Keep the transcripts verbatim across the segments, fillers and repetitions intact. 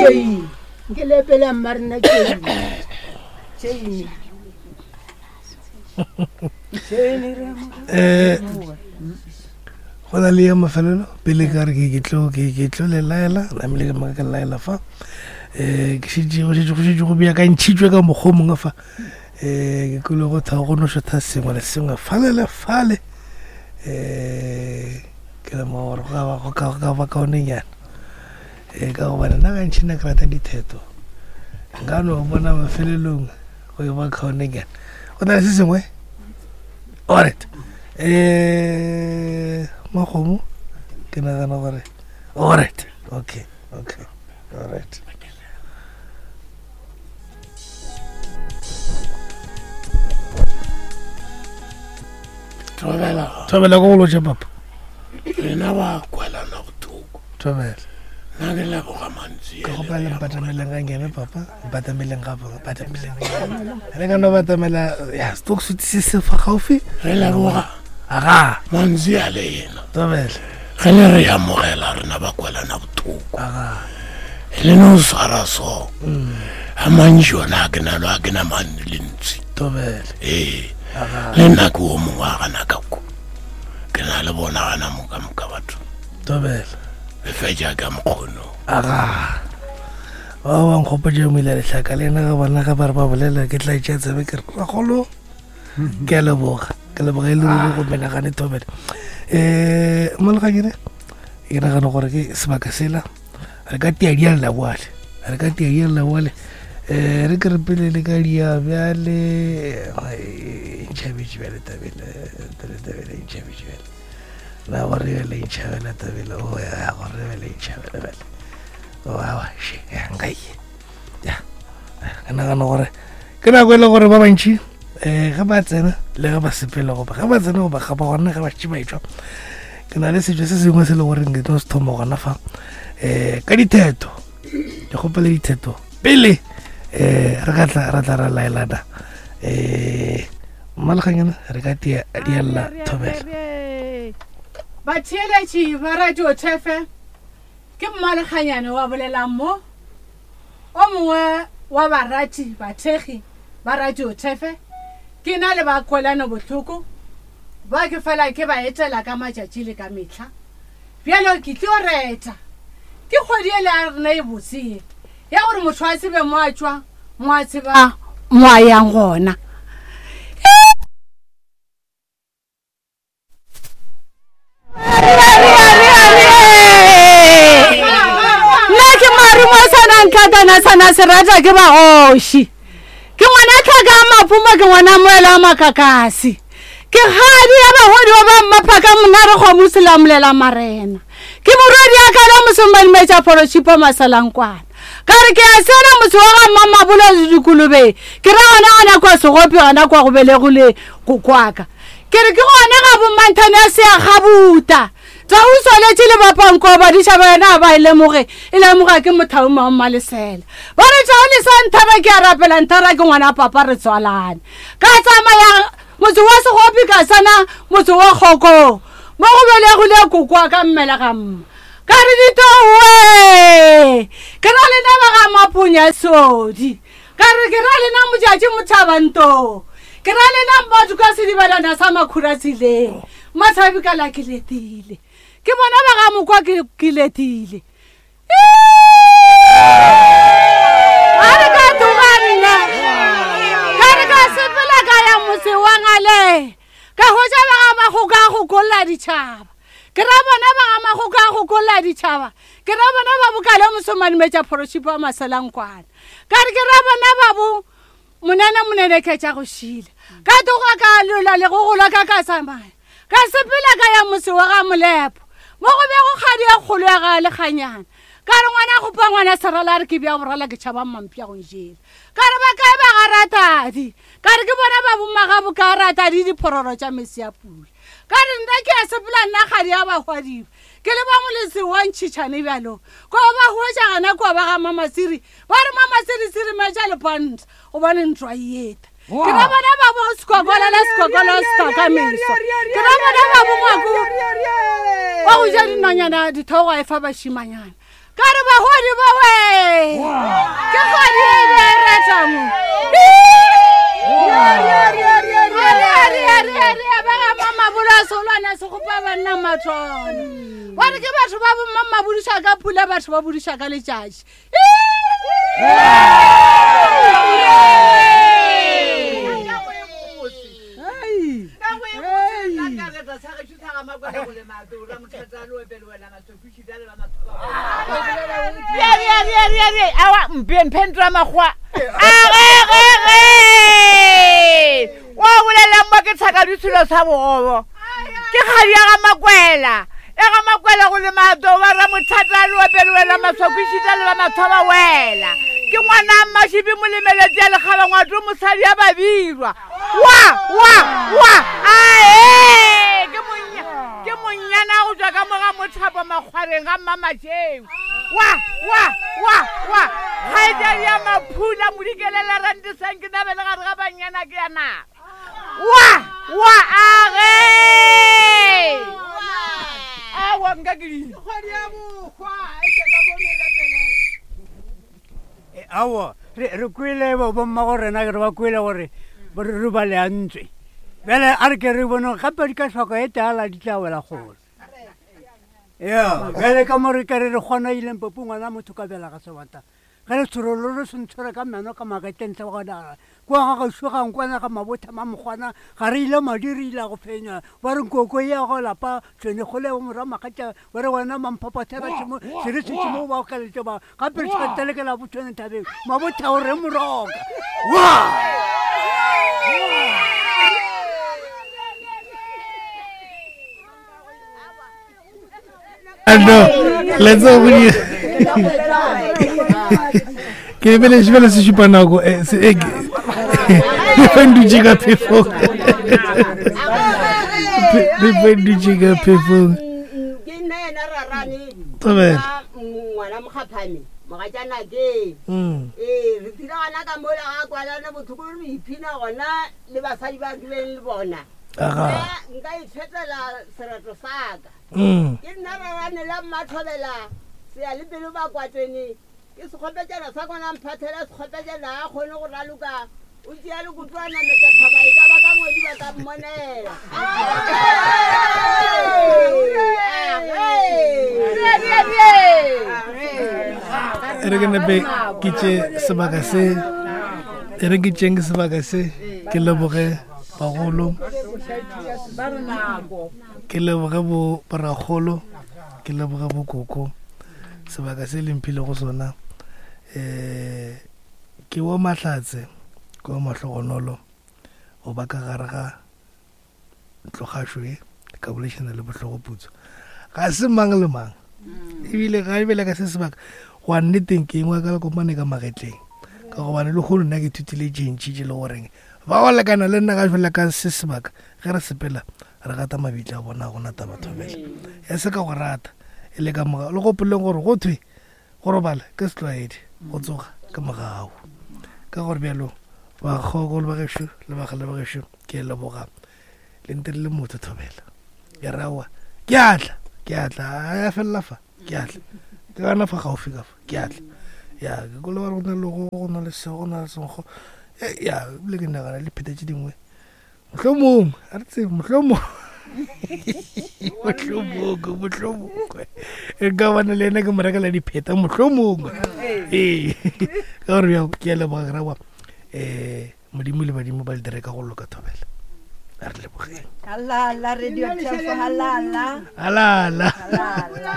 Chain. Ke lepela mmarena chain. Chain. Chain re mo. Eh go na le ya mafelelo pele ka re ke ke tlo ke ke tlo le laela namile ke maka ke laela fa eh ke šetše go šetše go šetše go beakantšhitšwe ka mokgwa o mongwe fa eh ke kwele go tha go no šotha sengwe le sengwe fale le fale eh ke lemoga gore go ka ba go ka go ka ba kaonenyana eh ka gobane nna gantši nna ke rata ditheto nka no bona mafelelong go e ba kaonenyana go na le se sengwe alright eh makgomo ke nagana gore alright okay okay alright Thobela thobela ko go lotša papa rena ba kwelana bothoko thobela nna ke leboga mantsi ke gopela le mpatameleng ga nkene papa mpatameleng gape mpatameleng re ka no batamela ya stok se se fa gaufi re leboga aga mantsi a lena thobela ge le re amogela rena ba kwelana bothoko aga le no swara so a mantši ona a ke nalo a ke na mane le ntsi thobela ee aga le nna ke o mongwe a gana ka ko ke na le bona gana moka moka batho thobela le fetša ka mokgono aga ba ba nkgopotše mo ile lehlaka le ena ga bona ga ba re ba bolela ke tla itšea tsebe ke re ragolo ke a leboga ke leboga e le ruri go menagane thobela um moleganyane ke nagana gore ke sebaka sela re ka tia dialla boale re ka tia dialla boale um re ke re pele le ka dia bjale e ntšhabetše bjale tabele tabele tabele e ntšhabetše bjale na gore bjale e ntšhabela tabele o ya gore bjale e ntšhabela bjale oawa she ya nka ye ya ke nagana gore ke nako e le gore ba bantši um ge ba tsena le ge ba sepela goba ge ba tsena goba ga ba gona ge ba šetše ba etšwa ke na le setšo se sengwe se le goreng ke tlo se thoma gona fa um ka ditheto ke kgopele ditheto pele um re ka tla ra tla ra laelana um mmaleganyana re ka tia diella thobela batheeletši ba radio thefe ke mmalekganyane wa bolelang mo o mongwe wa barati bathekgi ba radio thefe ke na le ba kwelano bohloko ba ke fela ke ba etela ka matšatši le ka mehla bjalo ke tlo reta ke kgwedi ele ya rena e botse ye ya gore motho a tsebe mo a tšwa mo a tseba mo a yang gona nna ke marumo sana ntlhatana sana serata ke bagoši ke ngwana tlhaka a mapumo ke ngwana moela wa makakasi ke kgadi ya bagodi ba ba mmaphaka monare kgomo selamolela marena ke morwedi ya kala mosomadimetša phorošipo masalankwana ka re ke a tsena motse wa ga mmamabolo le dikolobeng ke ra gona gona kwa segopi gona kwa go belegile kokwaka ke re ke gona ga bommanthane ya sea gabuta tsa o tswaletše le bapanko badiša ba yena ba e lemoge e lemoga ke mothauma wa mmalesela ba re tao le sa nthara ke a rapela nthara ke ngwana papa re tswalane ka tsamaya motse wa segopi ka sana motse wa kgokong mo go belegile kokoa ka mmele ga mma ka re ditowe ke ra lena ba ga mapunya sodi ka re ke ra lena motšatši mothabantong ke ra lena mmatho ka sedibelana sa makhura tseleng matshabi ka la ke letile ke bona ba ga mokwa ke ke letile a re ka tloga nna ka re ka sepela ka ya motse wa ngale ka hwetša ba ga magoka a go kolla ditšhaba ke ra bona ba ga magoka a go kolla ditšhaba ke ra bona ba bokale mosomadimetša phorošipo wa maselankwana ka re ke ra bona ba bo monene monene ketša go šila ka tloga ka lola le go gola ka ka tsamaya ka sepela ka ya motse wa ga molepo mo go be go kgadi ya kgolo ya ga lekganyana ka re ngwana gopa ngwana serala a re ke bja borala ke tšhaba mmampša go njela ka re ba kae ba ga ratadi ka re ke bona ba bomagabo ka ratadi diphororo tša mesi ya pula ka re nna ke a sepela nna kgadi ya bahwadiba ke le ba moletse wa ntšhitšhane bjalo kwa ba hwetša gana kua ba ga mamasiri ba re mamasiri metša lepanta gobane ntwa e eta ke ra bona ba bo sekokola la sekokola setaka meso ke ra bona ba bo ngwako wa go ja dinonyana dithogo a e fa bašimanyana ka re bahodi ba we Ke kgadi e be e reta mo. Ba ga Mamabolo a Solwana Sekgopa banna mathona. Ba re ke batho ba bomma mabudiša ka pula, batho ba budiša ka letšatši. Awa mpe mphentra makgwa. A ge ge ge. Wa bolela mo ke tshaka ditshilo sa bogobo. Ke kgadi ya ga Makwela. Ya ga Makwela go le mato ba ra mothata le opele wela maswakwishita le ba mathoba wela. Ke ngwana Mmashibi molemeletse ya lekgaba ngwato mosadi ya babirwa. Wa wa wa ae ke monya ke monyana go tswa ka moga mothapo makgwareng ga Mmamatšheu. Wa wa wa wa kgaetšadi ya Maphula modikelela rantesang ke nabele gare ga banyana ke ya naga. Wa wa age awa nka ke di Aowa re re kwele bo bomma go rena re ba kwele gore re re ba leantswe. Bjale a re ke re bone gape di ka hloka e tala di tla wela kgole. Ya, bjale ka mo re ka re re kgona ileng popo ngwana motho ka bela ga sebata. Ge re tshorolo re se ntshwere ka meno ka magetleng tle gona. Kwa ga gešo ga nkwana ga mabotha mamokgwana ga re ile madi re ile go fenya. Ba re nkoko ya go lapa tshwene kgole bo morwa magatša ba re wena mamphaphathera tšhimo se re se tšhimo ba okaletše ba gape re se telekela bo tshwene thabeng mabotha o re moroka. Wa! No, let's go. Ke lebeletse fela se šupa nako e dutše ka phefong. Phefo e dutše ka phefong. Ke nna yena rarane Thobela. ngwana mokgaphane mogatšana ke Mm. ee re tsile gona ka mola ga kwalane botlhoko re iphina gona le basadi ba kileng le bona Aga. nka itshwetela sereto saka Mm. ke nna rarane la mmathobela sea le pelo ba kwatsene ke sekgopetšana sa kona mphathela sekgopetšana a kgone go raloka o tšea lekotwana metšathaba e ka ba ka ngwedi ba ka mmonela. E re ke nepe ke tše sebaka se e re ke tšeng sebaka se ke leboge bagolo ke leboge bo borakgolo ke leboge bokoko sebaka se le mphile go sona. Um ke wa Mahlatse ke wa Mahlogonolo go ba ka gare ga ntlogašo e ka boledišana le bohlogoputso ga se mang le mang ebile ga ebile ka se sebaka go a nneteng ke engwe ka lekomane ka magetleng ka gobane le kgono nna ke ithutile tše ntši tše le goreng ba go lekana le nna ga fela ka se sebaka ge re sepela re gata mabitla a bona gona taba thobela ya se ka go rata e le ka moga le gopoleng gore go thwe go robala ke setlwaedi go tsoga ke mogau ka gore bjalo bakgokolo ba gešo le bagale ba gešo ke leboga le ntirile motho thobela ke rawa ke atla ke atla a felela fa ke atla ke gana fa gaufi ka fa ke atla ya ke kole ba re go na le go go na le se go na le senkgo ya ebile ke nagana le pheta tše dingwe mohlomongwe a re tsebe mohlomongwe mohlomongwe mohlomongwe e ka bana le ena ke mo rekela dipheta mohlomongwe ee ka gore bjao ke a leboga ke rawa um modimo le badimo ba le dire ka go loka thobela a re lebogeng. Halala radio Thefo halala. Halala. Halala.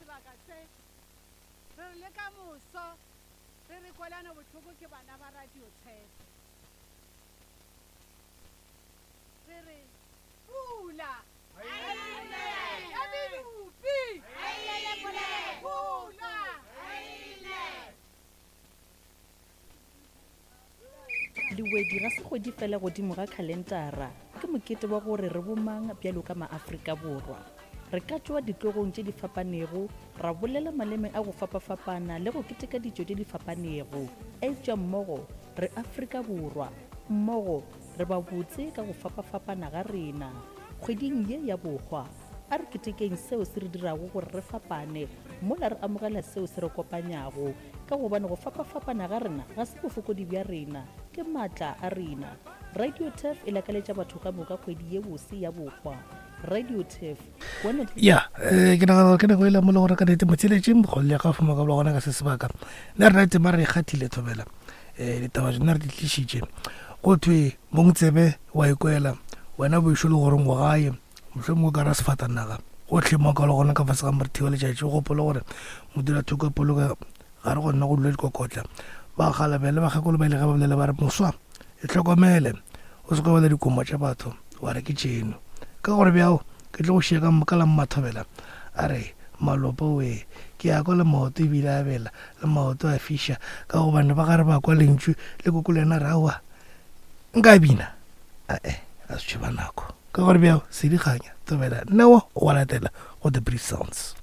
Sebaka se re re le ka moso re re kwelane bohloko ke bana ba radio Tshepo re re pula ya medupi pula. Lewedi ga se kgwedi fela godimo ga khalentara ke mokete wa gore re bomang bjalo ka maAfrika Borwa. Re ka tšwa ditlogong tše di fapanego ra bolela maleme a go fapafapana le go keteka ditšo tše di fapanego eupša mmogo re Afrika Borwa mmogo re ba botse ka go fapafapana ga rena. Kgweding ye ya bohwa A re ketekeng seo se re dirago gore re fapane mola re amogela seo se re kopanyago, ka gobane go fapafapana ga rena ga se bofokodi bja rena, ke maatla a rena. Radio Turf e lakaletša batho ka moka kgwedi ye bose ya bohwa. Radio Turf, one and Ya, eh, ke nagana gore ke nako e le mo le gore ka nnete motheletše mokgolole ya gafa moka bola gona ka se sebaka. Nna rena tema re e kgathile thobela. um ditaba tsona re di tlišitše. Go thwe mong tsebe wa ikwela wena boišo le goreng go gae, mohlomongwe ka ra sefatanaga gotlhe mo ka le gona ka fase ga morithi wa letšatši. O gopole gore modulathoko poloka ga re gona go dula dikokotla. Ba galabele bakgekolo ba ile ge ba bolela ba re moswa e hlokomele o se ke bala dikomo tša batho wa re ke tšeno. Ka gore bjao ke tlo go šia ka ka la mmathobela. A re malopo we ke ya kwa le maoto ebile a bela le maoto a fiša, ka gobane ba gare ba kwa lentšu le koko le yena re aowa nka bina ae a se tšheba nako. Ka gore bjao sedikganya thobela newa o wa latela go The Brief Sounds.